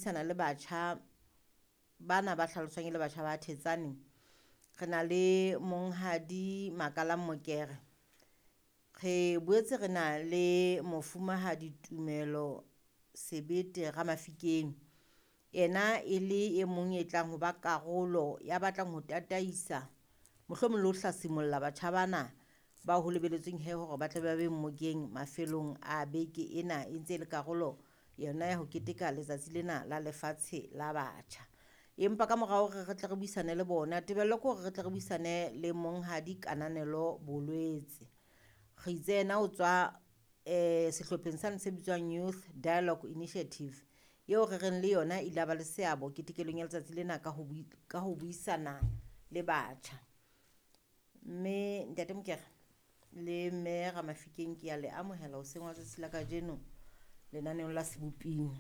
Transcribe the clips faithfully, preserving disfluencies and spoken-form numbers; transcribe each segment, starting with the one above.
Buisana le batjha bana ba hlaloswang e le batjha ba Thetsane. Re na le Monghadi Makalang Mokere. Re boetse re na le Mofumahadi Tumelo Sebete Ramafikeng. Yena e le e mong e tlang ho ba karolo ya batlang ho tataisa mohlomong le ho hlasimolla batjha bana ba ho lebelletsweng he hore ba tle ba be mmokeng mafelong a beke ena e ntse e le karolo yona ya ho keteka letsatsi lena la lefatshe la batjha. Empa ka mora hore re tle re buisane le bona, tebello ke hore re tle re buisane le Monghadi Kananelo Bolwetse. Re itse yena o tswa eh sehlopheng sane se bitswang Youth Dialogue Initiative eo re reng le yona ile ba le seabo ketekelong ya letsatsi lena ka ho ka ho buisana le batjha. Mme Ntate Mokere le Mme Ramafikeng ke a le amohela hoseng wa tsatsi la kajeno lenaneong la Seboping.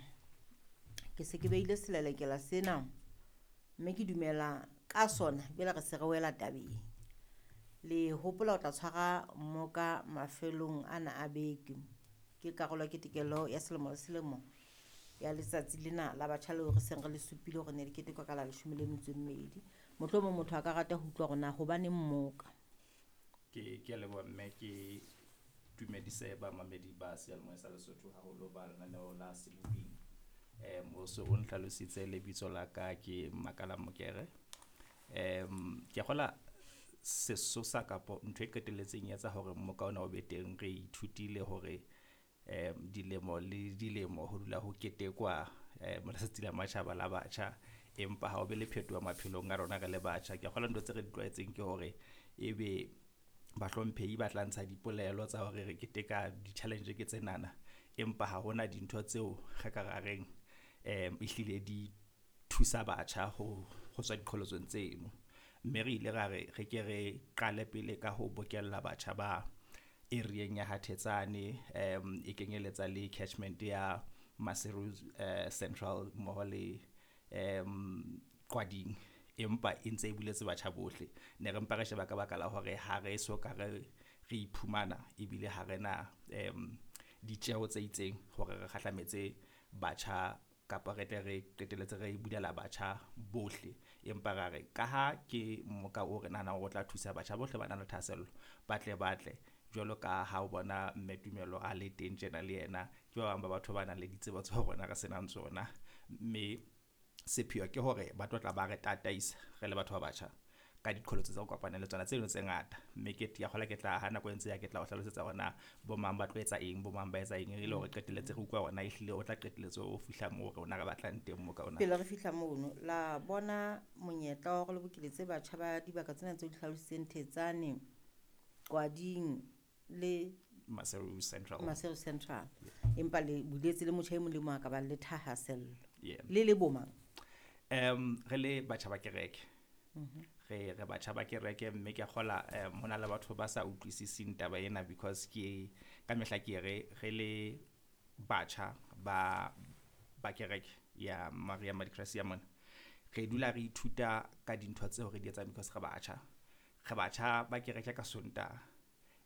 Ke se ke beile selelekela sena mme ke dumela ka sona jwale re se re wela tabeng. Le hopola o tla tshwara mmoka mafelong ana a beke. Ke karolo ya ketekelo ya selemo le selemo ya letsatsi lena la batjha leo re seng re le supile hore ne le ketekwa ka la leshome le metso e mmedi. Mohlomong motho a ka rata ho utlwa hore na hobaneng mmoka. Ke ke a leboha mme ke dumedise bamamedi ba seyalemoya sa Lesotho haholo ba lenaneo la Seboping. Um o so o nhlalositse lebitso la ka ke Makalang Mokere. Um ke a kgola sesosa kapo ntho e qetelletseng e etsa hore mmoka ona o be teng re ithutile hore um dilemo le dilemo ho dula ho ketekwa um letsatsi la matjhaba la batjha empa ha o be le phetoho maphelong a rona re le batjha. Ke a kgolwa ntho tse re di tlwaetseng ke hore ebe bahlomphehi ba tla ntsha dipolelo tsa hore re keteka di-challenge ke tsenana empa ha hona dintho tseo re ka ra reng um ehlile di thusa batjha ho ho tswa diqholotsong tseno. Mme re ile ra re re ke re qale pele ka ho bokella batjha ba area-eng ya ha Thetsane um e kenyeletsa le catchment ya Maseru uh, Central mmoho le um Qwading empa e ntse e buletse batjha bohle. Ne re mpa re sheba ka baka la hore ha re so ka re re iphumana ebile ha re na um ditjeho tse itseng hore re kgahlametse batjha kapa re tle re qetelletse re bulela batjha bohle. Empa ra re ka ha ke mmoka o re nahanang hore o tla thusa batjha bohle ba nang le thahasello ba tle ba tle jwalo ka ha o bona mme Tumelo a le teng tjena le yena ke ba bang ba batho ba nang le ditsebo tseo rona re senang tsona. Mme sepheo ke hore ba tlo tla ba re tataisa re le batho ba batjha ka diqholotso tse re kopanang le tsona tseno tse ngata. Mme ke ke a kgolwa ke tla ha nako e ntse ya ke tla o hlalosetsa hore na bo mang ba tlo etsa eng, bo mang ba etsa eng e le hore qetelletse re utlwa hore na ehlile o tla qetelletse o fihla moo rona re batlang teng mmoka ona. Pele re fihla mono la bona monyetla wa hore le bokeletse batjha ba dibaka tsena tseo di hlalositseng Thetsane, Qwading le Maseru Central. Maseru Central. Empa le buletse le motjha e mong le mong a ka bang le thahasello. Yeah. Le le bo mang? Um re le batjha ba kereke. Re re batjha ba kereke mme ke a kgola um ho na le batho ba sa utlwisising taba ena because ke ka mehla ke re re le batjha ba ba kereke ya Maria Madicracia mona re dula re ithuta ka dintho tseo re di etsang because re batjha. Re batjha ba kereke ka Sontaha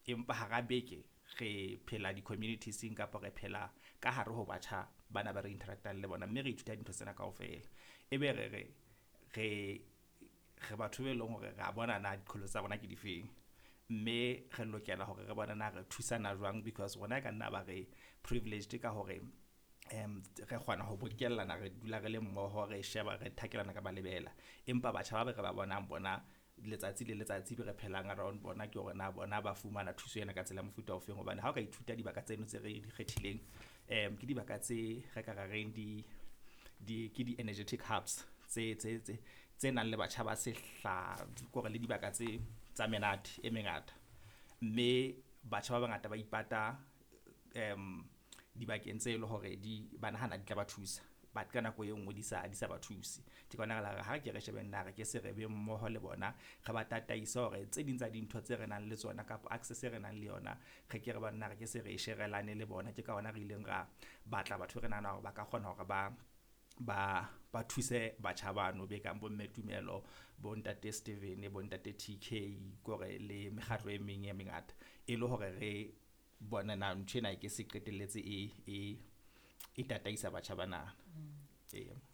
empa hara beke re phela di-communities-eng kapa re phela ka hare ho batjha bana ba re interact-ang le bona mme re ithuta dintho tsena kaofela. Ebe re re re re batho be leng hore re a bona na diqholotso tsa rona ke difeng mme re lokela hore re bone na re thusana jwang because rona e ka nna ba re privileged ka hore um re kgona ho bokellana re dula re le mmoho re sheba re thakelana ka malebela empa batjha ba re ba bonang bona letsatsi le letsatsi be re phelang around bona ke hore na bona ba fumana thuso ena ka tsela ya mofuta ofeng hobane ha o ka ithuta dibaka tseno tse re di kgethileng um ke dibaka tse re ka ra reng di di ke di-energetic hubs tse tse tse tse nang le batjha ba sehla kore le dibaka tse tsa menate e mengata mme batjha ba bangata ba ipata um dibakeng tse le hore di ba nahana di tla ba thusa but ka nako e nngwe di sa di sa ba thuse. Ke ka hona re la re ha ke re shebeng na re ke se re be mmoho le bona re ba tataise hore tse ding tsa dintho tse re nang le tsona kapa access e re nang le yona re ke re banna re ke se re e sherelane le bona. Ke ka hona re ileng ra batla batho re nahana hore ba ka kgona hore ba ba ba thuse batjha bano be kang bo mme Tumelo bo ntate Steven bo ntate T K kore le mekgatlo e meng e mengata e le hore re bone na ntho ena e ke se qetelletse e e e tataisa batjha bana. Eya.